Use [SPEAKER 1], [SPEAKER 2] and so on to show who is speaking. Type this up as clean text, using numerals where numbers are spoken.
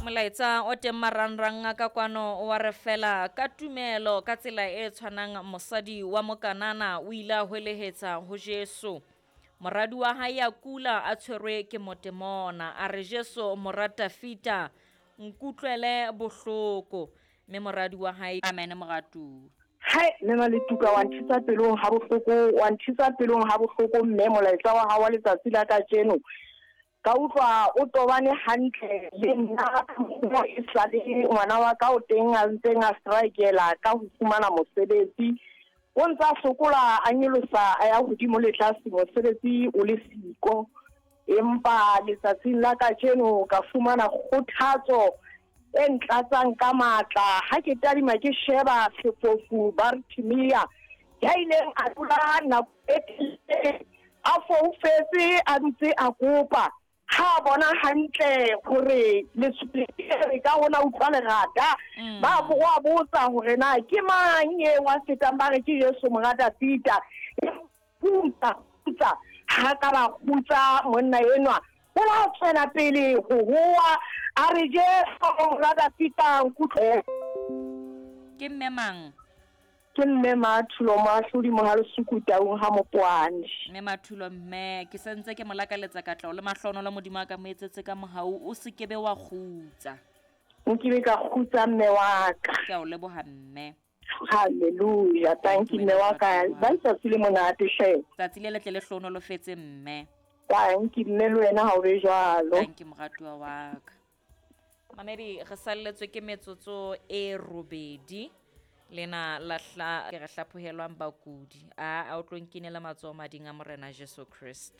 [SPEAKER 1] Molaetsa o teng marangrang a ka kwano wa re fela ka tumelo ka tsela e tshwanang mosadi wa Mokanana o ile a hwelehetsa ho Jesu. Moradi wa hae a kula a tshwerwe ke motemona. A re Jesu mora Tafita nkutlwele bohloko. Mme moradi wa hae amen moratuwa.
[SPEAKER 2] Hai mme Maletuka wa nthisa pelong ha bohloko wa nthisa pelong ha bohloko mme molaetsa wa hao wa letsatsi la kajeno ka utlwa o tobane hantle le nna ka e sale ngwana wa ka o teng a ntseng a strikela ka ho fumana mosebetsi o ntse a sokola a nyolosa a ya hodimo le tlase mosebetsi o le siko empa letsatsing la kajeno ka fumana kgothatso e ntlatsang ka matla ha ke tadima ke sheba sefofu Bartimea ya ileng a dula nako e telele a foufetse a ntse a kopa ha a bona hantle hore letshwele ka hona utlwa lerata mm. ba wa botsa hore na ke mang e wa fetang ba re ke Jesu mora Dafita kgutsa kgutsa ha ka ba kgutsa monna enwa o la tswela pele ho hoa a re Jesu mora Dafita nkutlwe
[SPEAKER 1] ke mme mang
[SPEAKER 2] ke mme Mathulo moahlodi Mohalesuku Taung ha Mopoane
[SPEAKER 1] mme Mathulo mme ke sentse ke mo lakaletsa katleho le mahlohonolo Modimo a ka mo etsetse ka mohau o se kebe wa kgutsa
[SPEAKER 2] nkile ka kgutsa mme wa ka
[SPEAKER 1] ke a o leboha mme
[SPEAKER 2] Hallelujah. Thank you mme wa ka. Ba letsatsi le monate hle.
[SPEAKER 1] Tsatsi le letle le hlohonolofetse mme.
[SPEAKER 2] Thank you mme le wena ha o be jwalo.
[SPEAKER 1] Thank you moratuwa wa ka. Mamedi re salletswe ke metsotso e robedi lena la hla ke re hlaphohelwang bakudi a a o tlo nkinela matsoho mading a Morena Jesu Kriste.